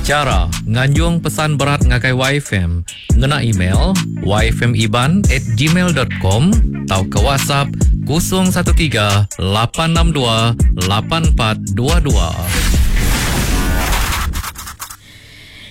Chara nganjung pesan berat ngagai YFM ngena email yfmiban at gmail dot com tauka WhatsApp 013 862 8422.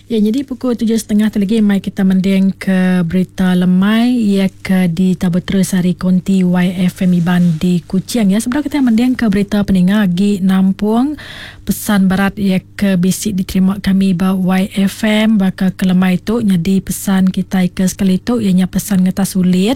Ya nyadi pukul tujuh setengah tu lagi mai kita mending ke berita lemai iya ke ditabur terus ari konti YFM Iban di Kuching ya. Sebedau kita mending ke berita peninga agi nampung pesan berat iya ke bisi diterima kami ba YFM baka ke lemai tu nyadi pesan kitai ke sekali tu iya nya pesan ngetas ulit.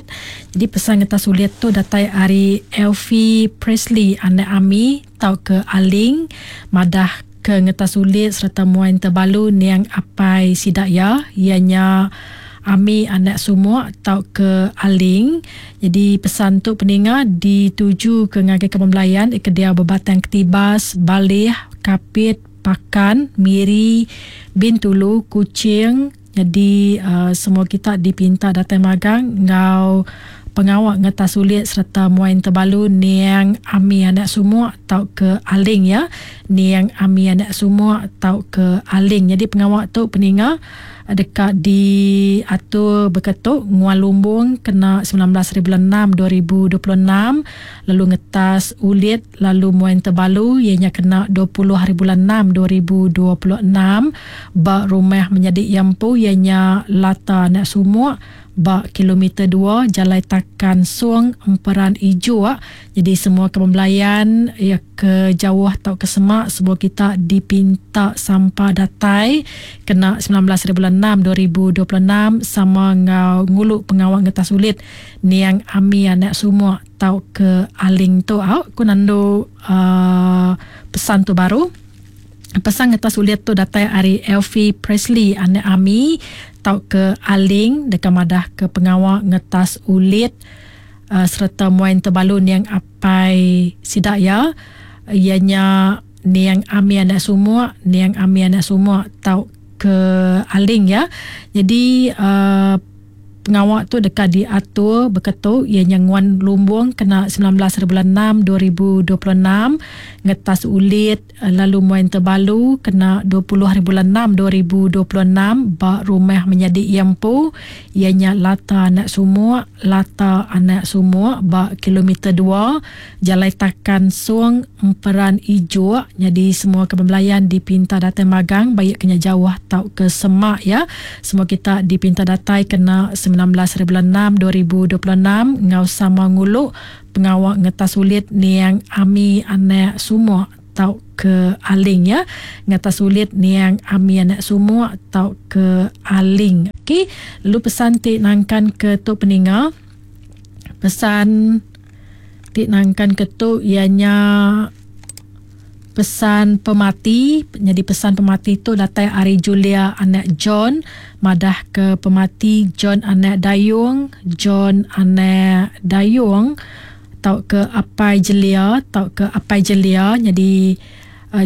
Jadi pesan ngetas ulit tu datai ari Elfie Presley anak Ami tauka Aling madah ke ngetas ulit sereta muai entebalu niang apai sida iya, iya nya Ami anak Sumuk tauka Aling. Nyadi pesan tu peninga dituju ke ngagai kaban belayan ke diau ba Batang Ketibas, Baleh, Kapit, Pakan, Miri, Bintulu, Kuching. Nyadi semua kita dipinta datai magang enggau pengawa ngetas ulit sereta muai entebalu niang Ami anak Sumuk tauka Aling ya. Niang Ami anak Sumuk tauka Aling. Nyadi pengawa tu peninga deka diatur baka tu nguan lumbung kena 19 hari bulan 6 2026 lalu ngetas ulit lalu muai entebalu iya nya kena 20 hari bulan 6 2026 ba rumah menyadi iya empu iya nya Lata anak Sumuk ba kilometer dua Jalai Takan Song Emperan Ijok. Jadi semua ke belayan iya ke jauh tauka semak semua kita dipinta sampa datai kena 19 hari bulan 6 2026 sama enggau ngulu pengawa ngetas ulit niang Ami anak Sumuk tauka Aling tu au ku nandu uhh pesan tu baru. Pesan ngetas ulit tu datai ari Elfie Presley anak Ami tauka Aling deka madah ke pengawa ngetas ulit uhh sereta muai entebalu niang apai sida iya, iya nya niang Ami anak Sumuk, niang Ami anak Sumuk tauka Aling iya. Nyadi uhh Pengawa tu deka diatur baka tu iya nya nguan lumbung kena 19 hari bulan 6 2026, ngetas ulit lalu muai entebalu kena 20 hari bulan 6 2026 ba rumah menyadi iya empu iya nya Lata Anak Sumuk, Lata Anak Sumuk ba kilometer dua Jalai Takan Song Emperan Ijok. Nyadi semua ke bebelayan dipinta datai magang baik ke nya jauh tauka semak iya. Semua kita dipinta datai kena 19 hari bulan 6 2026 enggau sama ngulu pengawa ngetas ulit niang Ami anak Sumok tauka Aling ya. Ngetas ulit niang Ami anak Sumok tauka Aling. Okey, lalu pesan ti nangkan ke tu peninga. Pesan ti nangkan ke tu iya nya Pesan pemati, nyadi pesan pemati tu datai ari Julia anak John madah ke pemati John anak Dayung, John anak Dayung tauka apai Jelia tauka apai Jelia nyadi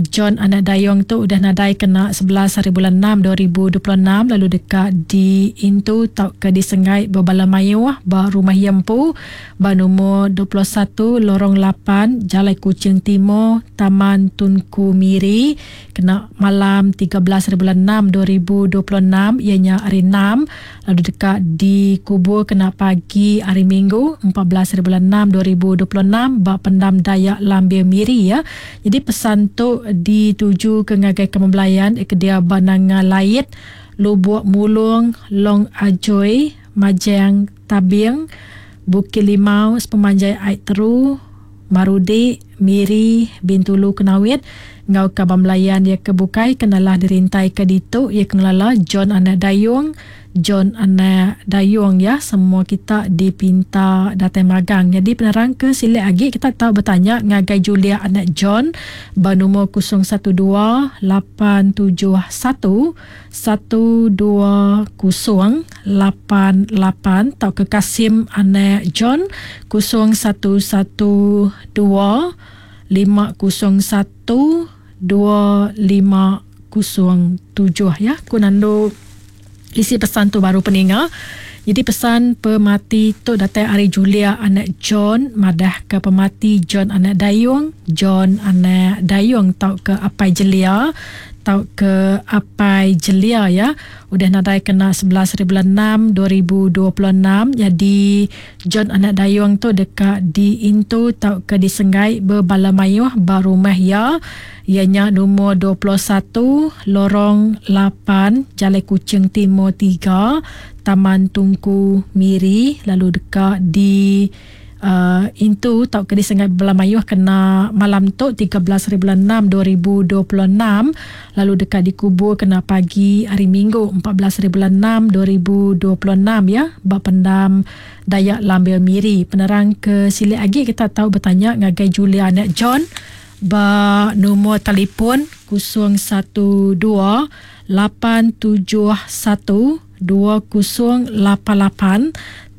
John anak Dayong tu udah nadai kena 11 hari bulan 6 2026 lalu deka diintu tauka disenggai bebala mayuh ba rumah iya empu Ba numur 21 Lorong 8 Jalai Kuching Timur, Taman Tunku Miri kena malam 13 hari bulan 6 2026 iya nya hari Enam lalu deka dikubur kena pagi hari Minggu 14 hari bulan 6 2026 ba Pendam Dayak Lambir Miri ya. Jadi pesan tu ditujuka ngagai Kaban Belayan ke diau ba Nanga Lait, Lubuk Mulung, Long Ajoi, Majang, Tabing, Bukit Limau, sepemanjai ai Teru, Marudi, Miri, Bintulu Kenawit enggau kaban belayan iya ke bukai ke nalah dirintaika ditu iya ke ngelala John Anak Dayung, John Anak Dayung ya semua kita dipinta datai magang. Nyadi penerang ke silik agi kita tau betanya ngagai Julia Anak John ba numur 012 871 12088 tauka Kasim anak John 0112 501 2507 ya. Ku nandu isi pesan tu baru peninga. Jadi pesan pemati tu datai ari Julia anak John madah ke pemati John anak Dayung, John anak Dayung tauka apai Jelia. tau ke Apai Jelia ya. Udah nadai kena 11 hari bulan 6 2026. Jadi John anak dayung tu deka diintu tau ke disenggai bebala mayuh ba rumah ya. Ianya nombor 21 Lorong 8 Jalai Kuching Timur 3 Taman Tungku Miri, lalu deka di intu tau ke disengai bala mayuh kena malam tu 13 hari bulan 6 2026, lalu deka dikubur kena pagi hari Minggu 14 hari bulan 6 2026 ya ba pendam Dayak Lambir Miri. Penerang ke silik lagi kita tahu bertanya ngagai Julia anak John ba nombor telefon 012 871 2088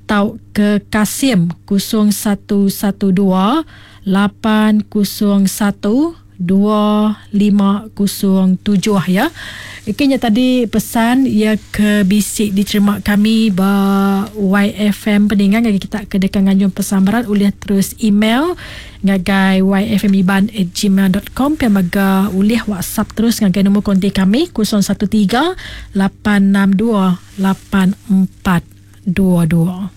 tau ke Kasim 0112 801 2507 ya. Ikinya tadi pesan ia ke bisik diterima kami ba YFM peningan ngagai kita ke dekat nganjung pesan berat oleh terus email ngagai yfmiban@gmail.com pia mega ulih WhatsApp terus ngagai nombor kontak kami 013 862 8422.